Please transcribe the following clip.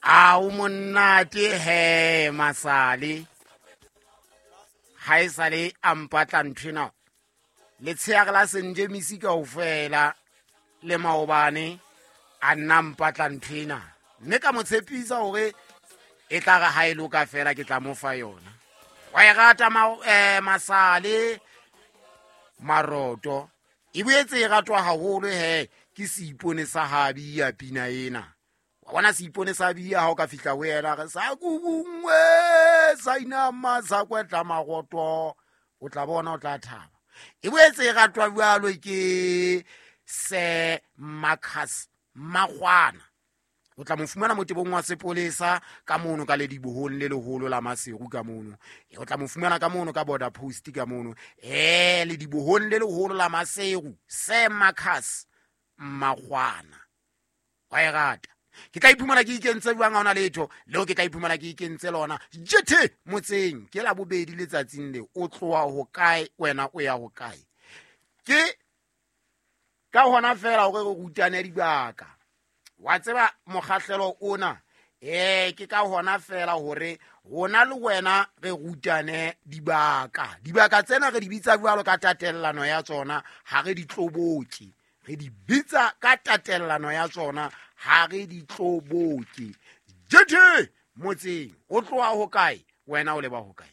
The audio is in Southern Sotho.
A o monnate he masale ha e sale a mpatla nthwena letsheare la senjemisi kaofela le maobane a nna mpatla nthwena mme ka mo tshepisa gore e tla re ha e loka fela ke tla mo fa yona. Wa e rata masale maroto e boetse e ratwa haholo he ke seipone sa habia pina ena. Wa bona seipone sa bia ha o ka fihla ho yena re sa kubungwe sa inama sa kwetla maroto, o tla bona o tla thaba. E boetse e ratwa jwalo ke se Marcus Makgwana, o tla mo fumana motebong wa sepolesa ka mono ka ledibohong le leholo la Maseru ka mono. O tla mo fumana ka mono ka border post ka mono, ledibohong le leholo la Maseru, se Marcus Makgwana. Wa e rata. Ke tla iphumana ke ikentse jwang ha hona letho leo ke tla iphumana ke ikentse lona jethe motseng. Ke la bobedi letsatsing le o tloha ho kae wena o ya ho kae? Ke ka hona fela hore re rutane dibaka. Wa tseba mokgahlelo ona, ke ka hona fela hore rona le wena re rutane dibaka. Dibaka tsena re di bitsa jwalo ka tatellano ya tsona, ha re di tloboke. Re di bitsa ka tatellano ya tsona, ha re di tloboke. Jethe motseng o tloha ho kae wena o leba ho kae?